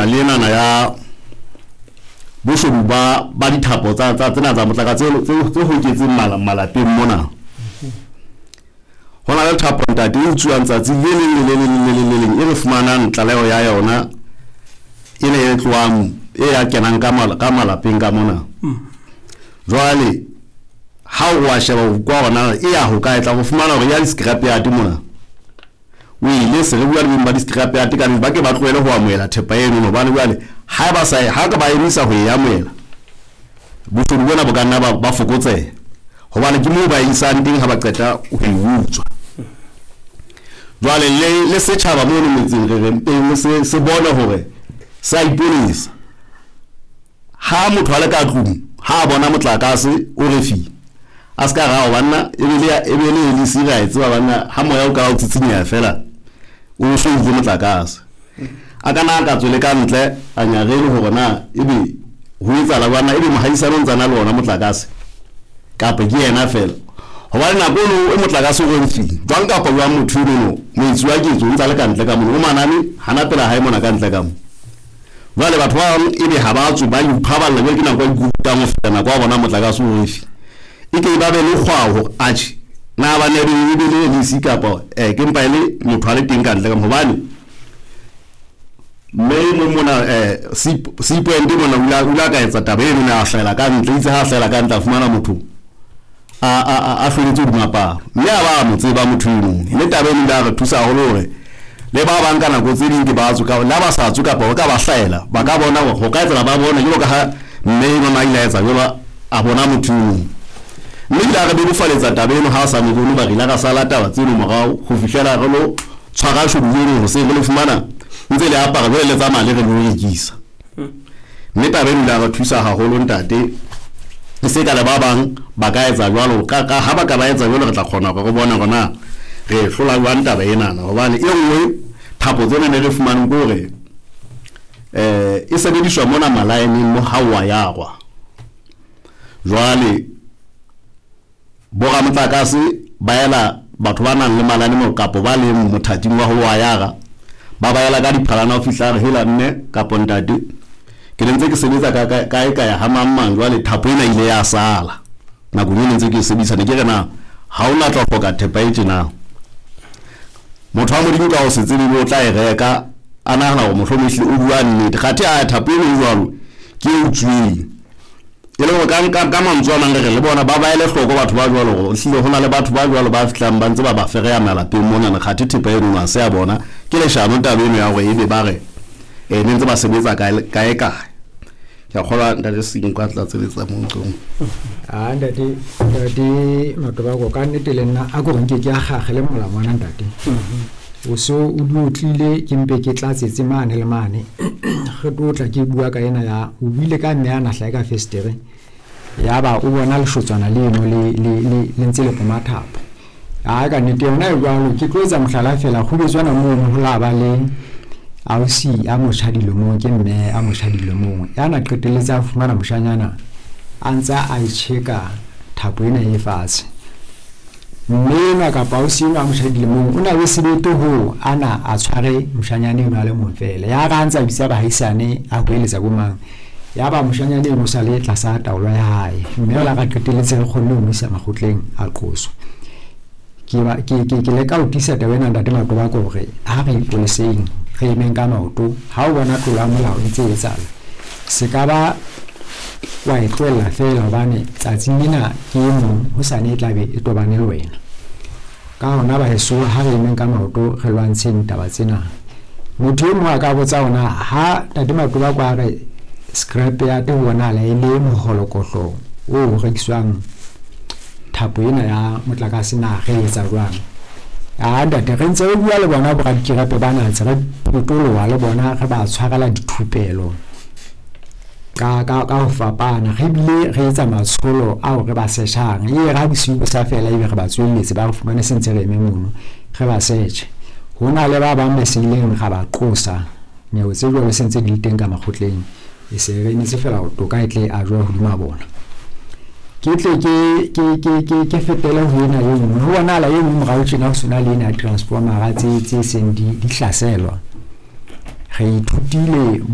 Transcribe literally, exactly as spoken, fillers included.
na le enana ya boshodu ba ba dithapo tsa tsa tsena tsa motlakase tse tse hoketseng malapeng mona. Ho na le thapo ntate e utsuwang tsatsi le leng le le leng le le leng e re fumanang tlaleho ya yona e ne e tlohang e ya kenang ka ka malapeng ka mona. Jwale ha o wa sheba kwa hona e ya ho kae, tla go fumana hore ya di-scrap yard mona. O ile se re bua le beng ba di-scrap yard ka ba ke ba tlohele ho amohela thepa eno, hobane jwale ha ba sa ha ka ba emisa ho e amohela, boshodu bona bo ka nna ba ba fokotseha, hobane ke moo ba isang teng ha ba qeta ho e utswa. Jwale le le setjhaba mono metseng re re mpeng se se bone hore sa ipolesa. Ha motho a le ka tlung ha a bona motlakase o re fi, a ska ra o banna e be le e be le le sira e tseba banna ha moya o ka o tsitsinya fela o so itse motlakase. A kana a ka tswele ka ntle a nyarele hore na ebe ho etsahala bana ebe mohaisano ntse na le ona motlakase kapa ke yena fela, hobane nako eno e motlakase o re fi jwang kapa jwang motho eno moetsi wa ketso o ntse a le ka ntle ka mono, o maname hana pela hae mona ka ntle ka mo. Jwale batho ba bang ebe ha ba tswe ba iphaballa jwale ke nako ya ikutlwang ho feta nako ya bona motlakase o re fi, e ke ba be le kgwao hore atjhe na ba ne be be le lesi kapa eh ke mpa e le motho a le teng ka ntle ka mo, hobane mme mo mona eh C point mona o ile o ile ka etsa taba eno, ne a hlahela ka ntle, itse ha hlahela ka ntle a fumana motho a a a hloletse hodima aparo, mme a ba mo tseba motho eno. Mme taba eno ile ya re thusa haholo hore le ba bang ka nako tse ding ke ba tswe ka la ba sa tswe kapa o ka ba hlahela, ba ka bona hore ho ka etsela ba bone jwalo ka ha mme eno a ile a etsa jwalo a bona motho eno. Mme ile a re bebofaletsa taba eno ha a sa mo bone, ba re ile ra sala taba tseno morao ho fihlela re lo tshwara shodu eno hoseng re le fumana ntse le apara jwale le tsamaya le re lo rekisa. Mme taba eno ile ya re thusa haholo ntate, e se ka le ba bang ba ka etsa jwalo ka ka ha ba ka ba etsa jwalo re tla kgona hore re bone hore na re hlola jwang taba enana, hobane e nngwe thapo tsena ne re fumaneng ke hore eh e sebediswa mona malaeneng mo ha wa yarwa. Jwale boramotlakase ba ela batho ba nang le malane mo kapo ba leng mothating wa ho wayara, ba ba ela ka diphalana ho fihla re hela mme kapo ntate ke ne ntse ke sebetsa ka kae kae ha mang mang, jwale thapo ena ile ya sala nakong e ne ntse ke e sebedisa, ne ke re na ha o na tla hloka thepa e tjena. Motho wa Modimo ka ho se tsebe o tla e reka a nahana hore mohlomong ehlile o bua nnete, kgathe a thapo eno e jwalo ke e utsweng. E le hore ka ka ka mantswe a mang re re le bona ba ba ele hloko batho ba jwalo, hore ehlile ho na le batho ba jwalo ba fihlang ba ntse ba ba fereya malapeng monana, kgathe thepa eno ha se ya bona. Ke leshano taba eno ya hore ebe ba re eh ne ntse ba sebetsa kae kae kae. Ke a kgolwa ntate Senko a tla tseletsa mo ntlong. Ah ntate ntate Matobako ka nnete le nna a ko re nke ke akgakge le mola ngwana ntate. O so o di otlile ke mpe ke tlatsetse mane le mane. Re tlo tla ke bua ka ena ya o buile ka mme a na hlae ka festere. Ya ba o bona leshotswana leno le le le ntse le poma thapo. A ka nnete yona e jwalo ke tlo etsa mohlala fela kgubetswana mono ho la ba le ausi a motjha dilemong ke mme a motjha dilemong ya na qetelletse a fumana moshanyana a ntse a itjheka thapo ena e fatshe. Mme enwa kapa ausi enwa a motjha dilemong o na le sebete ho ana a tshware moshanyana enwa a le mong fela, ya ra ntse a bitsa bahaisane a hoeletsa bo mang, ya ba moshanyana eno o sa le tlasa taolo ya hae, mme o la ka qetelletse re kgonne ho mo isa makgotleng a qoswa. Ke ba ke ke ke leka ho tiisa taba ena ntate Matobako hore ha re ipoleseng re emeng ka maoto, ha o bona tlolo ya molao e ntse e etsahala se ka ba wa e tlohella fela, hobane tsatsing lena ke e mong hosane e tla be e tobane le wena. Ka hona baheso ha re emeng ka maoto re lwantsheng taba tsena. Motho e mong a ka botsa hona ha ntate Matobako a re scrap yard ho bonahala e le moholokohlo o rekiswang thapo ena ya motlakase na re etsa jwang? A ntate re ntse re bua le bona boradikerepe bana, ntse re potoloha le bona re ba tshwarela dithupelo ka ka ka ho fapana, re bile re etsa matsholo ao re ba seshang, e re ha bosiu bo sa fela ebe re ba tswelletse ba re fumane se ntse re eme mono re ba setjhe. Ho na le ba bang be se ileng ra ba qosa nyewe tse jwalo se ntse di le teng ka makgotleng, e se re emetse fela ho toka e tle a jwa hodima bona. Ke tle ke ke ke ke ke fetele ho ena e nngwe. Ho bonahala e nngwe morao tjena ho sona le ena ya transformera tse tse seng di di hlaselwa. Re ithutile bo